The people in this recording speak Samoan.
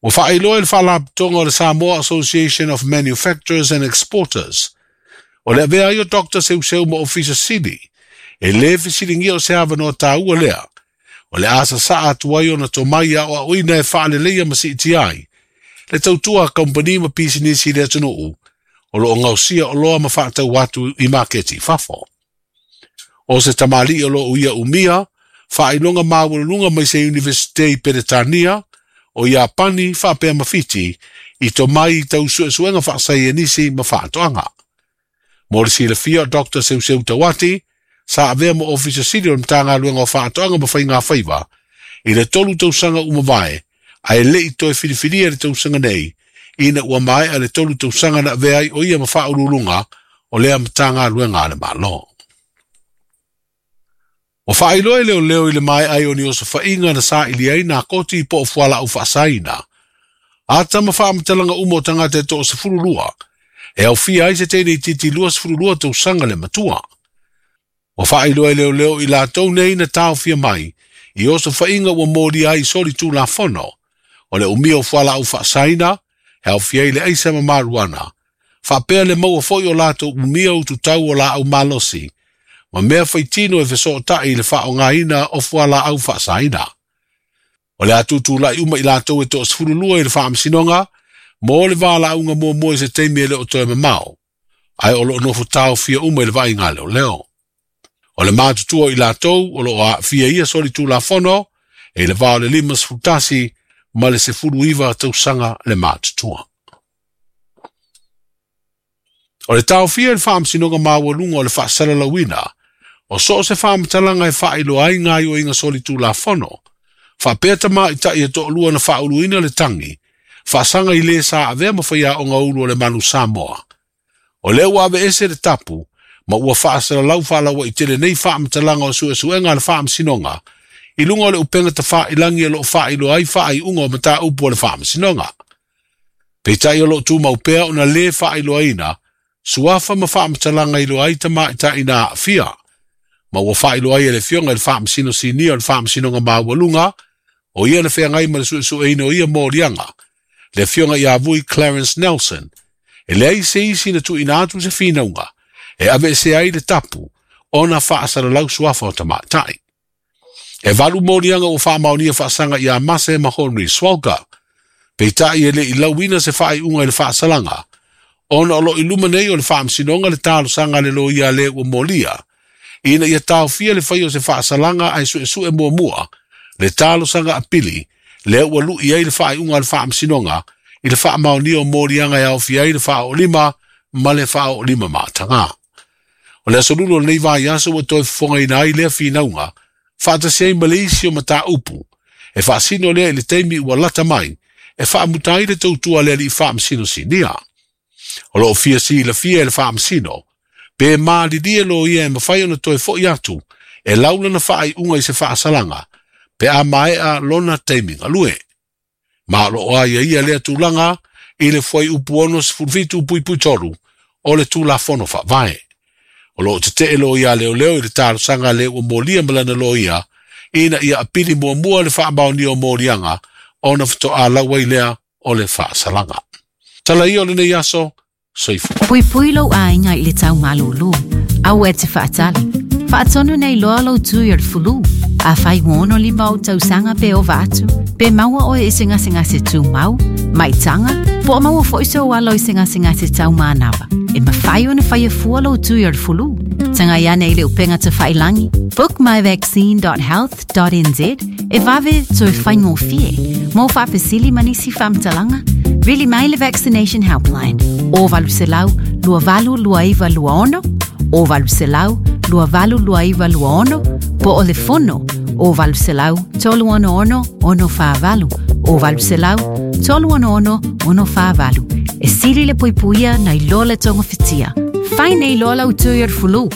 Ua faailoa e le Faalapotopotoga o le Samoa Association of Manufacturers and Exporters, o le avea ai o Doctor Seuseu ma Ofisa Sili, e lē fesiligia o se avanoa taua lea, o le a sasaa atu ai ona tomai e aoaoina e faaleleia ma siitia ai le tautua a kamupani ma pisinisi i le atunuu o lo o gaosia oloa ma faatau atu i maketi i fafo. O se tamalii o lo o ia umia faailoga maualuluga mai se Iunivesite i Peretania, o Iapani faapea ma Fiti i tomai i tau suesuega faasaienisi ma faatoaga. Mo le silafia o Doctor Seuseu Tauati, sa avea ma Ofisa Sili o le Matagaluega o Faatoaga ma Faigafaiva i le 3 tausaga ua mavae, ae le i toe filifilia i le tausaga nei, ina ua maea le 3 tausaga na avea ai o ia ma faauluuluga o lea Matagaluega a le Malo. Ua faailoa e leoleo i le maea ai o ni osofaiga na saili ai nā koti po o fualaau faasaina. Ata ma faamatalaga uma o tagata e 12, e aofia ai se teine itiiti 22 tausaga le matua. Ua faailoa e leoleo i latou nei na taofia mai i osofaiga ua molia ai soli tulafono, o le umia o fualaau faasaina, e aofia ai le aisa ma maruana, faapea le maua foi o latou umia ututau o laau malosi, ma mea faitino e fesootai i le faaaogaina o fualaau faasaina. O le a tutulai uma i latou e 12 i le faamasinoga, mo le valaauga muamua i se taimi e le o toe mamao, ae o lo o nofo taofia uma i le vaaiga leoleo. O le matutua i latou o lo o aafia ia soli tulafono, e i le va o le 51 ma le 19 tausaga le matutua. O le taofia i le faamasinoga maualuga o le faasalalauina, o so o se faamatalaga e faailoa ai gaoioiga soli tulafono, faapea tamaitai e toalua na faauluina le tagi, faasaga i le sa avea ma faiaoga ulu o le Manu Samoa. O lea ua aveese le tapu, ma ua faasalalau faalauaitele nei faamatalaga o suesuega a le faamasinoga, i luga o le upega tafailagi o lo o faailoa ai faaiuga o mataupu o le faamasinoga. Peitai o lo o tumau pea ona lē faailoaina suafa ma faamatalaga iloa ai tamaitai na aafia, ma ua faailoa ai e le afioga i le Faamasino Sinia o le Faamasinoga Maualuga, o ia na feagai ma le suesueina o ia moliaga, le afioga ia Vui Clarence Nelson, e leai se isi na tuuina atu se finauga e aveesea ai le tapu ona faasalalau suafa o tamaitai. E 8 moliaga ua faamaonia faasaga ia Mase ma Henry Swalka, peitai e le i lauina se faaiuga i le faasalaga, ona o lo o i luma nei o le faamasinoga le talosaga a le loia le ua molia, ina ia taofia le fai o se faasalaga ae suesue muamua le talosaga apili lea ua lui ai le faaiuga a le faamasinoga i le faamaonia o moliaga e aofia ai le faaoolima ma le faaoolima mataga. O le aso lulu o lenei vaiaso ua toe fofogaina ai lea finauga, faatasi ai ma le isi o mataupu, e faasino lea i le taimi ua lata mai, e faamuta ai le tautua a le alii faamasino sinia. O lo o fia silafia e le faamasino, pe malilie loia e mafai ona toe foi atu, e laulana faaiuga i se faasalaga, pe a maea lona taimi galue. Ma o lo o aiaia lea tulaga i le fuaiupu 67.3 o le Tulafono Faavae. O lo o tetee loia leoleo i le talosaga le ua molia ma lana loia, ina ia apili muamua le faamaonia o moliaga, ona faatoa lau ai lea o le faasalaga. Tala ia o lenei aso, soifua. Puipui lou aiga i le tau malūlū. Aua e te faatali. Faatonu nei loa lou tui o le fulu. Afai ua 65 ou tausaga pe ova atu, pe maua oe i se gasegase tumau, maitaga, po o maua foi sou alo i se gasegase taumanava, e mafai ona faia fua lou tui o le fulu. Tagai ane i le upega tafailagi, bookmyvaccine.health.nz, e vave toe faigofie. Mo faafesili ma nisi faamatalaga, vili mai le Vaccination Helpline, o 800 2829 26, o 800 2829 26, po o le fono, o 800 366 648, o 800 366 648. E sili le puipuia nai lo le togafitia. Fai nei loa lau tui o le fulu.